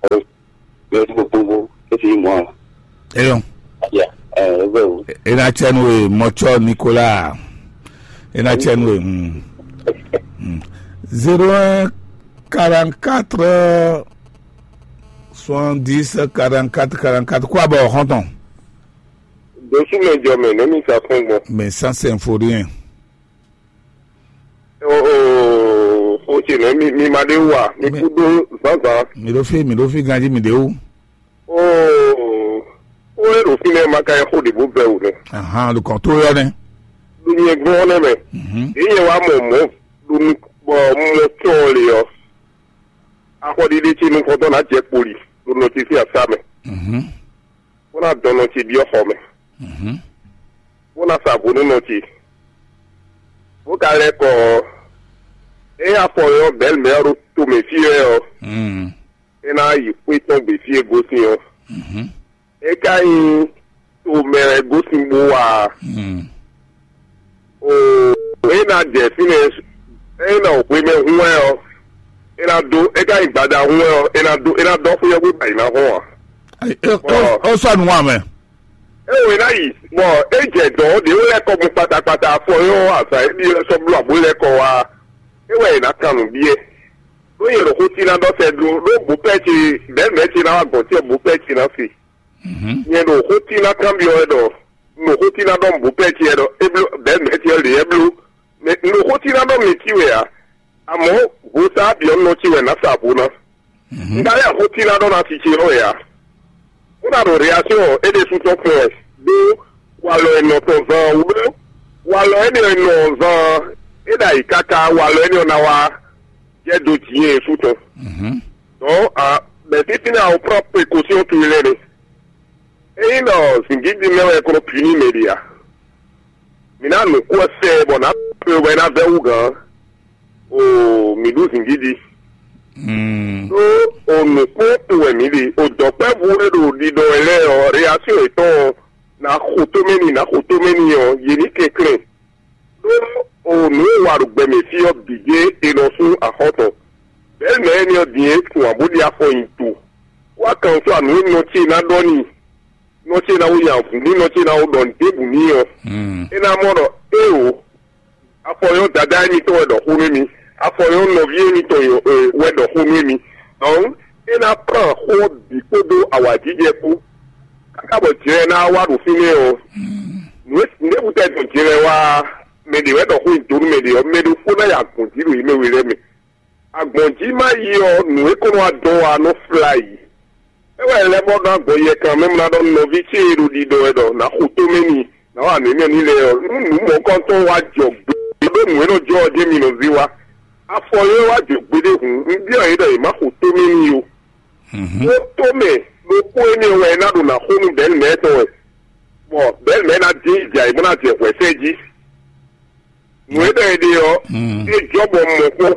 Ɛ ɛ tó gbogbo é ti nyí mɔ ɔ́. Eyɔn. Ya. Ɛ ɛ bɛ o. Ena tsɛnu e mɔtsɔ Nicolas. Ena tsɛnu e. Hmm. Hmm. Zéro un quarante quatre soixante dix quarante quatre quarante quatre. Kó abɔ xɔntɔn. Dosúmɛ jɔ mɛ nɛ́ mi sa fún gbɔn. Mais ça c'est un faux rien. O o o ce nɛ mi mi ma ɖe wa mi kú ɖó zǎnzǎn. Mi ɖo fí mi ɖo fí ganjí mi ɖe wú. Oo o e ɖo fínɛ́ ma ka nyí xó ɖěbǔ bɛ́ wǔ nɛ́. Ahan, ɖo kɔn tó yɔ nɛ. Ɖo nyɛ gbɔn nɛ mɛ. Mhm. Ɖě nyɛ wá mɔ mɔ̌ ɖo nu bɔ mɔ tɔn le ɔ́. Axɔɖiɖe ce nukɔntɔn ná jɛ kpoli ɖo nɔ ce sín asá mɛ. Mhm. Bó ná dɔn nɔ ce byɔ́ xɔ mɛ. Mhm. Bó ná sa vo nú nɔ ce. Bó ka lɛ́ kɔ ɔ́, ényí afɔ ɔ́ bɛ̌ mɛ ɔ́ ɖo tomɛ fí wɛ ɔ́, Mm. É ná yi xwé tɔn gbe fí e gosín ɔ́. Mhm. É ka nyí tomɛ wɛ gosín bó wa a? Mm. Oo, é ná jɛ fínɛ́, é ná xwé mɛ hun wɛ ɔ́, é ná dó, é ka nyí gbada hun wɛ ɔ́, é ná dó, é ná dɔ́ xwé ɔ́ gbé bɔ è nǎ hɔn ǎ. Ayi, é- Bɔ- é- Ó sɔ́ nǔ wá mɛ. É wɛ ná yi, bɔ é jɛ dɔ̌n ɖě wɛ lɛ́ kɔ gbɔn kpatakpata afɔ nyɔ́ azǎn e ɖi lɛ́ sɔ́ bló abǒ lɛ́ kɔ wá. É wɛ è nǎ kan nǔ byɔ́. Ɖó nyɛ ɖo xó cí ná ɖɔ sɛ ɖó ɖó bǔ pɛ́ ce, bɛ̌ mɛ̌ ce ná wá gɔ̌n ce bǔ pɛ́ ce ná se. Mhm. Nyɛ ɖo xó cí ná kanbyɔ́ wɛ ɖɔ, un ɖo xó cí ná ɖɔ bǔ pɛ́ ce wɛ ɖɔ é bló bɛ̌ mɛ̌ ce lě wɛ bló. Mɛ un ɖo xó cí ná ɖɔ mi cí wɛ ǎ. Amɔ̌, vo sa byɔ̌ nɔ ce wɛ nǎ sa vo ná. Mhm. Un ka lɛ́ xó cí ná ɖɔ ná si ce ɔ́ wɛ ǎ. Kúnɔ ɖo reaction ɔ́, é ɖésú tɔn kpɔ́n wɛ, ɖó walɔ e nɔ tɔn zan ɔ́ wú ɖó walɔ énɛ́ e nɔ zan ɔ́, é ɖo ayǐ káká walɔ énɛ́ ɔ́ ná wá jɛ dó jǐ nyi sú tɔn. Mhm. Donc, a, bɛ̌ fínfín ná o prend précaution towe lɛ́ɛ nɛ. Ényí ɖɔ zǐngídi mɛ wɛ kɔnɔ puni mɛ ɖe a? Mǐ ná nǔ kú ɔ́ sɛ bɔ nǎ kpé bɔ é ná vɛ́ wú gǎn. Oo, mǐ ɖu zǐngídi. Mm. Ɖó o nǔkpɔ́n wɛ mǐ ɖe. O dɔ̌nkpɛ́vú e ɖo ɖiɖɔ wɛ lɛ́ɛ ɔ́, reaction yětɔn ɔ́, nǎ xo tómɛ n'i, nǎ xo tómɛ n'i ɔ́, yě ní kɛnklɛ́n. Ɖó o nǔ e wa ɖo gbɛ mɛ fí ɔ́ bǐ ɖíe è nɔ sú axɔ́ tɔn. Bɛ̌ mɛ̌ énɛ́ ɔ́ din é tunwun ǎ bó ɖi afɔ nyi do. Wá kan sɔ́ nǔ e nɔ ce ná ɖɔ n'i. Nɔ ce ná wú nya vǔ n'i, nɔ ce ná wú ɖɔ nǔ ɖěbǔ n'i ɔ́, Mm. é ná mɔ ɖɔ éeǒ, afɔ nyɔ́ dadá émítɔn wɛ ɖɔ xó nú émí, afɔ nyɔ́ nɔví émítɔn wɛ ɖɔ xó nú émí. Donc, é ná kplán xó ɔ́ bǐ kpódó awǎjijɛ kpó. Káká bɔ jlɛ ná wá ɖo fínɛ́ ɔ́, nǔ e nǔɖébǔ tɛ dɔn jlɛ wá mɛ ɖě wɛ ɖɔ xó nyi do nú mɛ ɖě ɔ́, mɛ ɖokpó ná yi agbɔ̌n jí ɖo yě mɛ we lɛ́ɛ mɛ. Agbɔ̌n jí má yi ɔ́, nǔ e kɔn nɔ wá dɔn wá nɔ flá yǐ. É wɛ lɛ́ bɔ ná gbɔ yɛ kan mɛ mla ɖɔ nɔví ce e ɖo ɖiɖɔ wɛ ɖɔ nǎ xo tómɛ n'i, nǎ wa nǔ énɛ́ n'i lɛ́ɛ ɔ́, nú nǔ mɔ̌kɔntɔn wá jɔ gbe ɖó nǔ e nɔ jɔ ɔ́ jɛ́n mi nɔ zé wá. Afɔ e wá jɔ gbeɖé hǔn, un byɔ́ yě ɖɔ yě má xo tómɛ n'i ó. Ó tómɛ ɖokpó énɛ́ wɛ é ná ɖo nǎ xo nú Bɛ̌lmɛ̌ tɔn wɛ, bɔ Bɛ̌lmɛ̌ ná dín jɛ ayǐ bó ná jɛ hwɛ̌ sɛ́ jí. Nǔ e ɖɔ è ɖe ɔ́, é jɔ bɔ un mɔ kpɔ́n.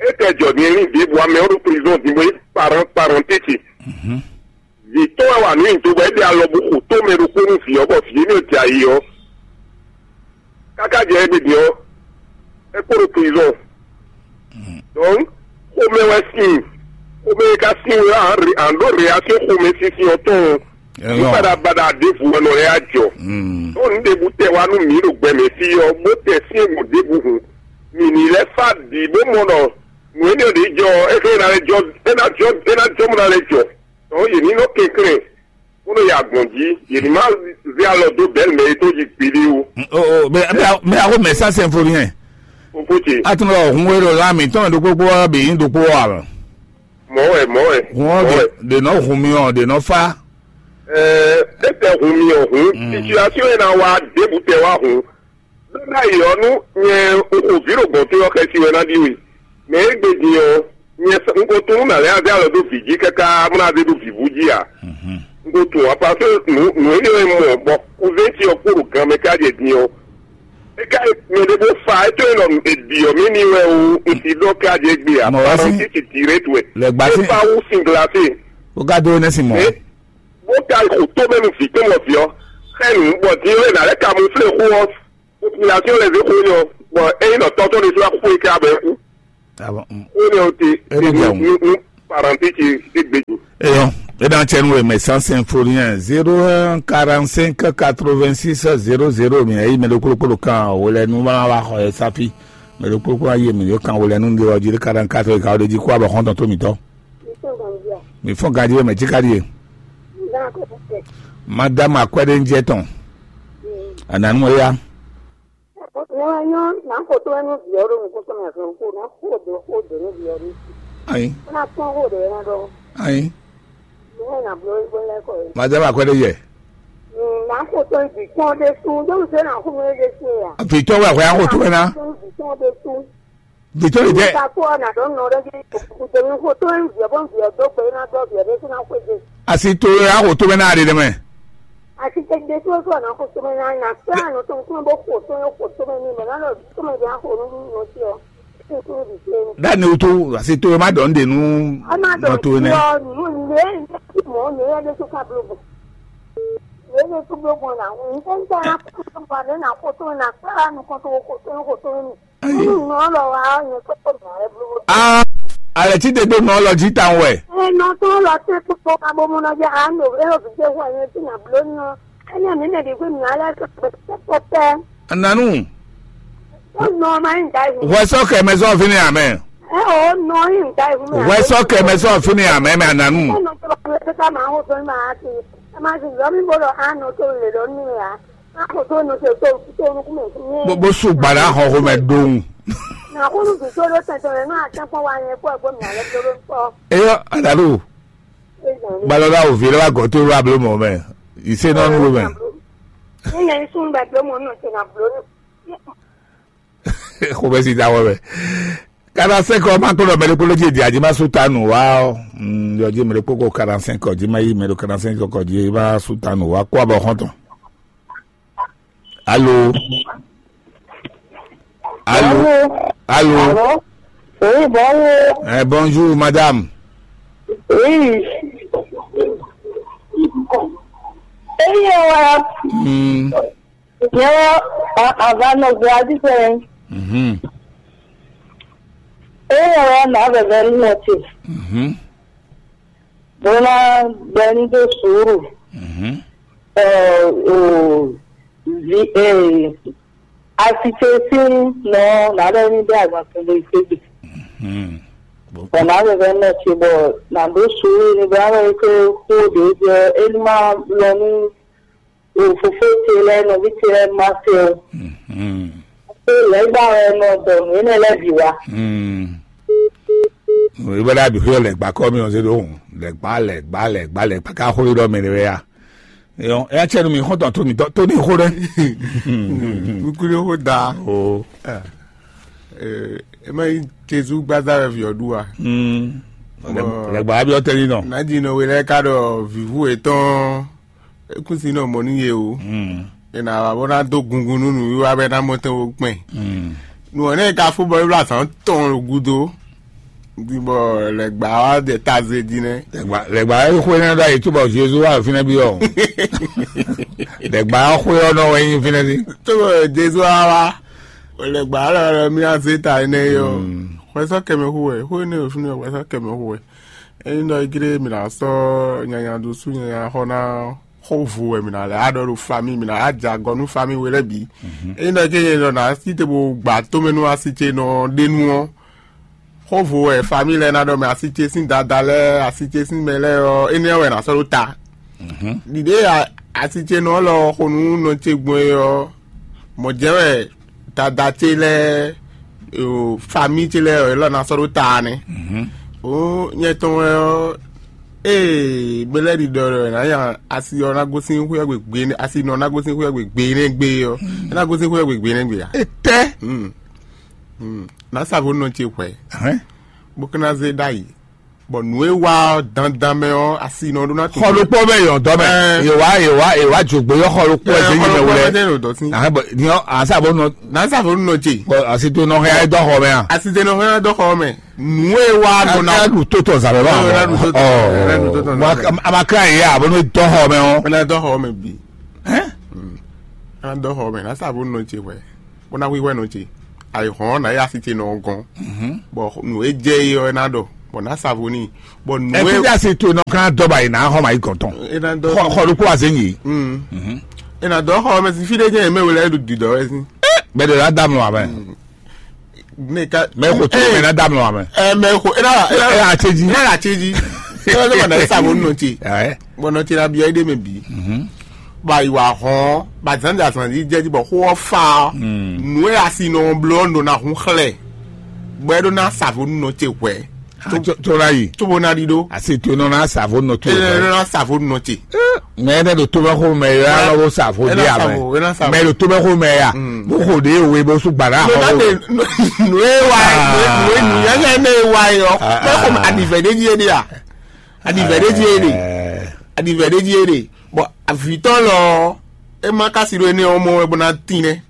É kɛ jɔ din e ní ɖěbǔ amɛ ɔ́ ɖo prison din bó nyí parán parán tɛ́ntin. Vǐ tɔn wɛ wa nǔ nyi do bɔ é ɖe alɔ bó xo tó mɛ ɖokpó nú vǐ ɔ́, bɔ vǐ énɛ́ ɔ́ jɛ ayǐ ɔ́, káká jɛ égbé din ɔ́, é kpo ɖo prison. Donc, xomɛ wɛ sin, xomɛ e ka sin wɛ an ɖó reaction xomɛ sinsin ɔ́ tɔn. Nǔ baɖabaɖa ɖěbǔ wɛ nɔ lɛ́ ajɔ. Ɖó nǔ ɖěbǔ tɛ wá nú mǐ ɖo gbɛ mɛ fí ɔ́, bó tɛ syɛ́ngbɔn ɖěbǔ hǔn, mǐ ní lɛ́ fá bǐ bó mɔ ɖɔ nǔ énɛ́ ɖě jɔ ɔ́, é xlɛ́ ná lɛ́ jɔ, é ná jɔ, é ná jɔ bó ná lɛ́ jɔ. Tɔ̌ yě ní nɔ kɛnklɛ́n, bó nɔ yi agbɔ̌n jí, yě ní má zé alɔ dó bɛ̌ mɛ e tó jí gbeɖé ó. Mɛ axo mɛ sá sɛn fo nìyẹn. Fofó ce. A tún lɔ hun wé ɖo lá mǐtɔn ɖokpókpó wá bǐ nyí ɖokpó wá lɔ. Mɔ̌ wɛ, mɔ̌ wɛ. Hun ɔ́ ɖe nɔ hun mi ɔ́ ɖe nɔ fá. Ɛɛ, é tɛ hun mi ɔ́ hun. Situation e ná wá ɖěbǔ tɛ wá hun. Ɖó ná yi ɔ́ nú nyɛ un xo vǐ ɖo gbɔ̌n towe ɔ́ xɛsi wɛ ná ɖi we. Mɛ e gbe din ɔ́, nyɛ un ko tunú nǎ lɛ́ azé alɔ dó vǐ jí káká bó ná zé ɖo vǐvú jí ǎ. Un ko tunwun apa só nǔ nǔ énɛ́ e mɔ bɔ kúzé ce ɔ́ kpo ɖo gan mɛ ká jɛ din ɔ́. É ká mɛ ɖé bó fa é tó e nɔ è ɖi ɔ́ mɛ ní wɛ o, un si ɖɔ ká jɛ gbé ǎ. Mɔ wá sí. Parɔn títì direct wɛ. Lɛ gbá sí. É fa wú sin glacé. Ó ká dó nɛ sin mɔ. Bó ka xo tó mɛ nu vǐ tó mɔ vǐ ɔ́. Xɛ nǔ bɔ din ɔ́ è nǎ lɛ́ kamuflé xó ɔ́. Population lɛ zé xó nyɔ, bɔ ényí nɔ tɔtɔ ɖé sɔ́ kú é ká bɛ kú. Ah bon, mm. Ó lɛ o te. É lɛ jɛ o. Nú parenti ti dé gbé ju. Eyɔ, é ɖo acɛ nú we mɛ sans info rien. Zéro un quarante cinq quatre vingt six zéro zéro, mi ayi mɛ ɖokpóɖokpó ɖo kan wele nu ma wa xɔ ɛ safi. Mɛ ɖokpóɖokpó ayi mɛ ɖo kan wele nu ɖe ɔji ɖe quarante quatre ka ɖe jí kó abɔ xɔntɔn tó mitɔ. Mi fɔn ganji we mɛ jí ka ɖie. Madame akwɛɖe ń jɛ tɔn. Ananu ya. Nyɔ̌ wɛ nyɔ́, nǎ xo tó wɛ nú vǐ ɔ́ ɖo nukúnmɛ hɛn xó, nǎ xo dǒ xó dǒ nú vǐ ɔ́ ɖésú. Ayi. Bó ná kpɔ́n xó ɖě wɛ ná ɖɔ. Ayi. Nǔ wɛ nǎ bló é gbɔn lɛ́ kɔ é. Madame akwɛɖe yɛ. Nǎ xo tó vǐ tɔn ɖésú, ɖó un zé nǎ xo nú é ɖésú é a? Vǐ tɔn wɛ hwɛ axo tó wɛ ná. Tó vǐ tɔn ɖésú. Vǐ tɔn lè jɛ. Nígbà tó ọ̀nà tó nù rẹ jẹ́ kò tó ní kò tó ń jẹ́ bó ń jẹ́ tó pé iná tó jẹ́ bó tó ná kó jẹ. Asi to ya xo to bɛ na ɖe ɖe mɛ. Asi tɛ de tó tó ọ̀nà kò tó mɛ náà nà tó àná tó ń kún bó kò tó yẹ kò tó mɛ ní mɛ náà lọ tó mɛ jẹ́ àkó ní ní sí ọ. Tó tó di sí ẹni. Dani o to asi to ma dɔn de nu. Ọmọ àdó nɔ to sí ne. Ọ nínú ilé ilé tí mò ń lé ẹni tó ká blo bò. Ilé tó blo bò náà ń tẹ́ ń tẹ́ náà kó tó ń bọ̀ náà kó tó ń nà kó tó ń kó tó ń kó tó ń nì. Ayi. Nɔ lɔ wa ɔ nyɛ kpɛkpɛ mɛ lɛ blo. Ah, alɛ ti de do nɔ lɔ ji tan wɛ. Ɛ nɔ tɔn lɔ tɛ kpɛkpɛ ka bɔ mɔ nɔ jɛ a nɔ e o vijɛ wɔ nyɛ ti na blo nɔ. Ɛnɛ mi nɛ de gbe mi alɛ kpɛkpɛ pɛpɛ. Ananu. Ó nɔ ma yi da ihu. Wɛ sɔ kɛ mɛ sɔ fini amɛ. Ɛ o nɔ yi da ihu mɛ. Wɛ sɔ kɛ mɛ sɔ fini amɛ mɛ ananu. Ó nɔ tɔ lɔ pɛ ka ma ho dɔn ma a ti. Ɛ ma ti lɔ mi bo lɔ a nɔ to le lɔ nu ya. Bó bó sú gbàdá xɔxo mɛ dóhùn. Eyɔ adalu gbalɔla òvi lɛ wa gɔtɔ wa blo mɔ mɛ ìṣe náà nù mɛ. Xɔmɛ si da wɔ mɛ. Kana sɛkɔ ma kplɔ mɛ ɖokpó ló dzi di adi ma sú ta nù wa ɔ. Yɔ dzi mɛ ɖokpó ko kana sɛkɔ dzi ma yi mɛ ɖo kana sɛkɔ dzi ma sú ta nù wa kó abɔ xɔntɔn. Allô? Allô? Allô? Allô? Oui, bonjour. Eh, bonjour, madame. Oui. Eyi wa. Hmm. Nyɛ ava nɔ gbɔ adi fɛ. Mhm. Eyi wa na vɛvɛ nɔ ti. Mhm. Bó ná gbɛ ní dó sùúrù. Mhm. Ɛ, o, vi, ɛ, asitse sín nɔ nàɖɛ ní bɛ agban kún bó yi ségbe. Mhm. Bɔ nà bɛ bɛ nɔ ce bɔ nà dó sùúrù ní bɛ wɛ ké kó ɖě jɛ é ní má lɔ ní o fofó ce lɛ nɔví ce lɛ má se o. Mhm. Pé lɛ́gbá wɛ nɔ dɔ nǔ énɛ́ lɛ́ɛ bǐ wá. Hmm. Ìwé ɖa bǐ xyɔ lɛ̌gbá kɔ mì ɔ́ zé ɖó hùn. Lɛ̌gbá, lɛ̌gbá, lɛ̌gbá, lɛ̌gbá ká xó ɖɔ mɛ ɖé wɛ ya. Eyɔn, eya cɛ nu mi xɔntɔn tó mi dɔ tó ní xó ɖɛ. Kúkúrú xó da. O. Ɛ, ɛ, ema yi Jezu gbada wɛ vi ɔ́ ɖu wa. Hmm. Lɛ̌gbá wa bi ɔ́ tɛ́ ní nɔ. Nǎjínɔ we lɛ́ɛ ká ɖɔ vǐvú yětɔn é kún si nɔ mɔ nú yě o. Hmm. È nǎ wá bó ná dó gungun nú nǔwiwa bɔ é ná mɔ tɛn wo kpɛn. Hmm. Nǔ ɔ́ nɛ́ ka fó bɔ é bló azǎn tɔn ɖo gúdo. Di bɔ lɛ̌gbá wá jɛ taze jí nɛ́. Lɛ̌gbá, lɛ̌gbá é xwé nɛ́ ɖɔ ayǐ cóbɔ Jezu wá fínɛ́ bí ɔ́. Lɛ̌gbá ɔ́ xwé ɔ́ nɔ wɛ nyí fínɛ́ sí. Cóbɔ Jezu wá wá, lɛ̌gbá lɔ lɔ mí ná zé ta énɛ́ é ɔ́. Hmm. Xwɛ sɔ́ kɛmɛ xú wɛ, xwé énɛ́ ɖo fínɛ́ xwɛ sɔ́ kɛmɛ xú wɛ. Ényí ɖɔ é jlé mǐ ná sɔ́ nyanya ɖó sú nyanya xɔ ná xó vo wɛ mǐ ná lɛ́ á ɖɔ ɖo fami, mǐ ná á jɛ agɔ nú fami we lɛ́ɛ bǐ. Ényí ɖɔ ké nyɛ ɖɔ ná sí te bo gbǎ tomɛ nú asi ce nɔ ɖe nu ɔ́, xó vo wɛ fami lɛ́ɛ ná ɖɔ mɛ asi ce sín dada lɛ́ɛ, asi ce sín mɛ lɛ́ɛ ɔ́, énɛ́ wɛ ná sɔ́ ɖó ta. Ɖiɖe asi ce nɔ lɔ xo nú nɔ ce gbɔn é ɔ́, mɔ̌ jɛ́n wɛ dada ce lɛ́ɛ, o, fami ce lɛ́ɛ ɔ́, élɔ́ ná sɔ́ ɖó ta nɛ́. O nyɛ tɔn wɛ ɔ́, ee mɛ lɛ́ɛ ɖi ɖɔ ɖɔ ná nya asi ɔ́ ná gosín xwé ɔ́ gbe gbe nɛ́, asi nɔ ná gosín xwé ɔ́ gbe gbe nɛ́ gbe ɔ́, é ná gosín xwé ɔ́ gbe gbe nɛ́ gbe ǎ. Etɛ. Ná sa vo nɔ ce hwɛ, bó ka ná zé ɖ'ayǐ. Bɔ nǔ e wa ɔ́ dandan mɛ ɔ́, asi nɔ ɖó ná tunwun. Xɔ ɖokpó mɛ yɔ dɔ mɛ. Ɛɛ. Yewa yewa yewa jogbe yɔ xɔ ɖokpó ɛ zé yi mɛ wulɛ. Ahɛn bɔ ni ɔ asa bɔ nɔ. N'asa fɔ nɔ tse. Bɔ asi to nɔ hɛn ayé dɔ xɔ mɛ a. Asi te nɔ hɛn dɔ xɔ mɛ. Nǔ e wa nɔ na. Ɛ du tó tɔ zalɛ lɔ. Ɔ a ma kra yi a bɔ n'o dɔ xɔ mɛ ɔ. Ɛnɛ dɔ xɔ mɛ bi. Ɛn. Ɛnɛ dɔ xɔ mɛ n'asa fɔ nɔ tse wɛ. bó ná hwíhwɛ́ nɔ ce. Ayǐhɔ́n ɔ́, nǎ yi asi ce nɔ ɔ́ gɔ́n, bɔ nǔ e jɛ é ɔ́, é ná ɖɔ, bɔ nǎ sa vo n'i, bɔ nǔ e Ɛfídíasi to nɔ kán dɔba yi ná xɔ mayi gɔn tɔn. É ná dɔ Xɔ xɔ ɖokpó azé nyi. Mm. É ná dɔ xɔ mɛ sín fí ɖé jẹ́ mɛ wele ɖo dǐdɔ wɛ sín. Bɛ de la dam lɔ amɛ. Ne ka Mɛ xo tó mɛ na dam lɔ amɛ. Ɛ mɛ xo é ná é ná Ɛ atseji. É ná atseji. É ná dɔ na sa vo nɔ ce. Ɛ. Bɔ nɔ ce na biɔ é ɖe mɛ bi. Ba yi wa hɔn ba zan da zan yi jɛ ji bɔ xo ɔ fa ɔ. Nu e asi nɔ blɔ nɔ na hun xlɛ. Bɔ é ɖo na sa vo nɔ ce hwɛ. Tó la yi. Tó bo na ɖi ɖo. Asi to nɔ na sa vo nɔ to. É nɔ na sa vo nɔ ce. Mɛ ne ɖo tómɛxo mɛ ya lɔ bó sa vo ɖé amɛ. Mɛ ɖo tómɛxo mɛ ya bó xo ɖé we bó sú gbala. Nuna de nu e wa ye nu e nu yɛlɛ ne e wa ye ɔ mɛ xɔ adivɛ ɖe dzi e ɖe a adivɛ ɖe dzi e ɖe adivɛ ɖe dzi e ɖe bɔn avitɔ lɔ e ma kasi ɖo ene ɔmɔ wɛ bó na tin nɛ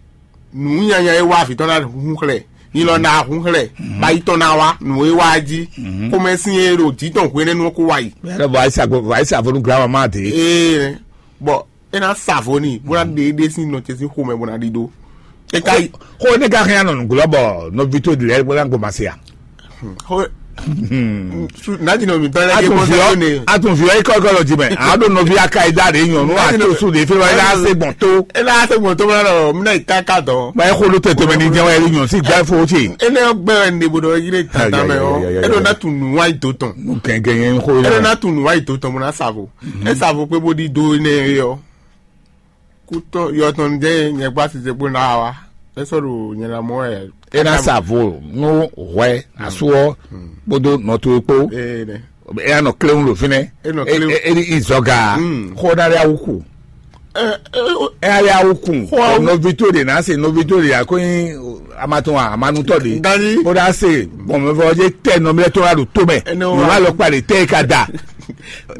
nu nyanya e wa avitɔ na hun xlɛ ni lɔ na hun xlɛ ba yi tɔn na wa nu e wa dzi xɔmɛ sin e ɖo dzi tɔn hwenɛnu ko wa yi. Mɛ lɔ bɔ ayisa gbo ayisa fonu gla ma de. Ee bɔn e ná sa vo n'i bó ná ɖe éɖée sín nɔ ce sín xomɛ bó ná ɖidó. E ka yi Xo ne ka hɛn anɔ nǔglɔ́ bɔ nɔví towe ɖi lɛ́ɛ bó ná gomase a? Xo su- nádìnɔ mǐtɔn lɛ́ɛ ké Atun bó viɔ sáré ne. Atun viɔ ikɔ ikɔ lɔ jimɛ. A ɖo nɔví aka yi da ɖe nyɔnu Nádìnɔ- ato su ɖe fɛ wa ila se gbɔn to. E ná se gbɔn tó bá lọ mi náà yi káká dɔn. Ba e xo ɖo tɛtɛ mɛ ni jɛ wa yɛ nyɔ si gba fo ce. E ne gbɛ ne bo dɔ yire tata mɛ o. Ayayayaya. E dɔ na tu nu wa yi do tɔn. Nu kɛnkɛn yɛn xo E dɔ yɛ. Na tu nu wa yi do tɔn mo na sa vo. E sa vo pé bó ɖi do ne yɔ. Kútɔ yɔtɔn jẹ́ nyɛ gbá sise bó ná wa. É sɔ́ ɖo nyɛ ná mɔ wɛ. E na sa vo nú hwɛ asu ɔ kpódó nɔ towe kpó. Ee nɛ. E ya nɔ kléwún ɖo fínɛ́. E nɔ kléwún. E ɖi izɔga. Xɔ ná ɖe awu ku. E ya ɖe awu ku. Xɔ awu. Nɔví towe ɖe ná se nɔví towe ɖe akó nyi amatɔn amanutɔ ɖe. Dani. Bó ɖa se bɔn mɛ fɔ ɔdze tɛ nɔmlɛ tó wá ɖo tó mɛ. Nɔ wá lɔ kpa ɖe tɛ ka da.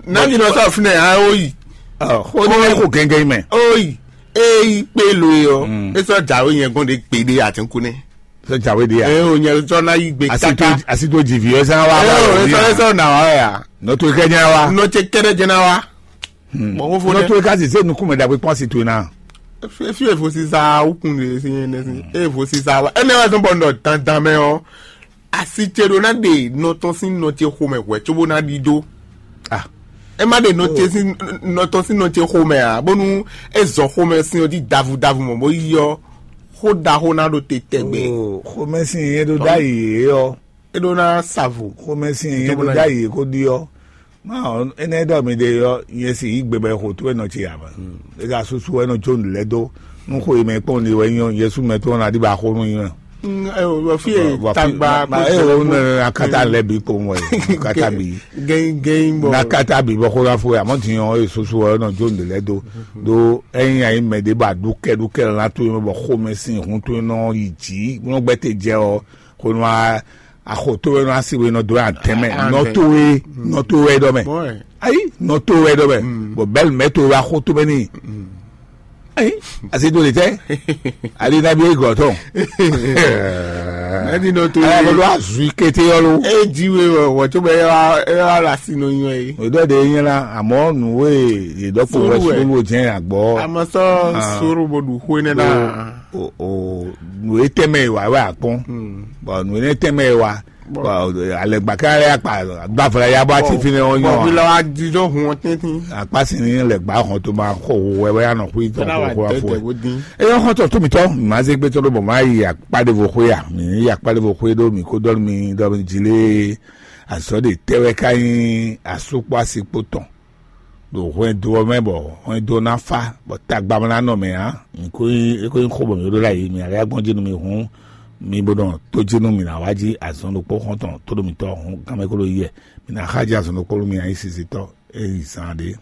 Nani nɔ sɔ fúnɛ hã ó yi. Xó ní lɛ kó gɛngɛn mɛ. Ó yi. Eyi kpé lo yi ɔ. É sɔ jàwé yẹn gɔn de kpé de àtúnkù ní. Sɔ jàwé de ya. Ẹ o nyɛ sɔ ná yí gbé Asi tó kaka. Asi tó jì fi ẹ sá wá Ẹ wá o wá ẹ sọ ẹ wá. Sọ nà wá ya. Nɔ tó kẹ́ nyá wá. Nɔ tse kẹ́rẹ́ jẹ́ ná wá. Bɔn ó fó Nɔ dɛ. Tó ká sì sẹ́ nukún mɛ dàgbé pọ́n sì tó iná. Efi evo sisa ukun de si yẹn nɛ si evo sisa wa. Ẹ nẹ wá sọ bɔ nɔ dandan mɛ ɔ. Asi tse ɖo ná ɖe nɔ tɔn sín nɔ tse xomɛ hwɛ tso bó ná ɖi ɖó. Ah. Ẹ má ɖe nɔ tse sín nɔ tɔn sín nɔ tse xomɛ a bónú e zɔ xomɛ sín ɔ dzi davu davu mɔ bó yi ɔ xó ɖaxó ná ɖo te tɛgbɛ. Oh, xomɛ sín yẹn ɖo ɖ'ayǐ é ɔ. É ɖó ná savo. Xomɛ sín yẹn ɖo ɖ'ayǐ é kó ɖi ɔ. Má ɔ énɛ́ ɖɔ mi ɖe ɔ nyɛ si yí gbe bɔ xo tó ɛ nɔ tse ǎ mɛ. É ka súsú ɛ nɔ jó nǔ lɛ́ dó. Nú xo yi mɛ kpɔ́n ɖi wɛ nyɔ Yɛsu mɛ tó ɔ́ ná ɖi ba xó nú nyɔ. Fi e tagba ma e o ne akata lɛ bi kpowun wɛ akata bi. Gɛyin gɛyin bɔ. Nakata bi bɔ xó la fo ya mɔ ti yɔn e soso wɛ nɔ jó nde lɛ do do ɛyin ayi mɛ de ba du kɛ du kɛ la to yɔn bɔ xomɛ sin hun to nɔ yi ji nɔ gbɛ te jɛ ɔ ko nɔ a axo to wɛ nɔ asi wɛ nɔ do ya tɛmɛ nɔ to wɛ nɔ to wɛ dɔ mɛ ayi nɔ to wɛ dɔ mɛ bɔn bɛl mɛ to wɛ axo to mɛ ni. Ayi, asi do le tɛ. Ali na bi egɔ tɔn. Mɛ di nɔ to Aya ye. Bolo azui kete yɔ lo. E ji we wɔ wɔ tso bɛ e wa e wa la si no nyɔ ye. O dɔ de nyɛ la amɔ nu we ye dɔ ko Suru wɛ wɛ. Suru jɛn agbɔ. Amɔ sɔ Ah. Suru bo du xo ne na. O o nu e tɛmɛ wa wa akpɔn. Bɔn nu e tɛmɛ wa. Bɔn alɛgba ká lɛ akpa gbavla ya bɔ ati fi ne ɔ nyɔ bɔn fi la wa di dɔ hun ɔ tɛntin. Akpa si ni lɛgba hɔn to ma xɔ wo wɛ wɛ anɔ xui tɔn Fɛnɛ wa xɔ xɔ dɛ afɔ dɛ wo din. Eyɔ xɔ tɔ tómi tɔ ma ze gbé tɔ ɖo bɔ ma yi akpa ɖe vo xɔ ya mi yi akpa ɖe vo xɔ ɖo mi ko dɔn mi dɔ mi dzi lé azɔ de tɛwɛ ka nyi asukpɔ asikpo tɔn. Ɖo hwɛndo ɔ́ mɛ bɔ hwɛndo ɔ́ ná fá bɔ tagba ná nɔ mɛ ǎ. Mi ko nyí é ko nyí xó bɔ mǐ ɖó ɖo ayǐ mǐ alɛ gbɔn jí nú mi hǔn mi bó nɔ tó jí nú mǐ ná wá jí azɔn ɖokpó xɔ́ntɔn tó ɖo mǐtɔn hǔn gánmɛ kó ɖo yíyɛ mǐ ná xá jí azɔn ɖokpó nú mi ayísisitɔ́ é yi zán ɖé.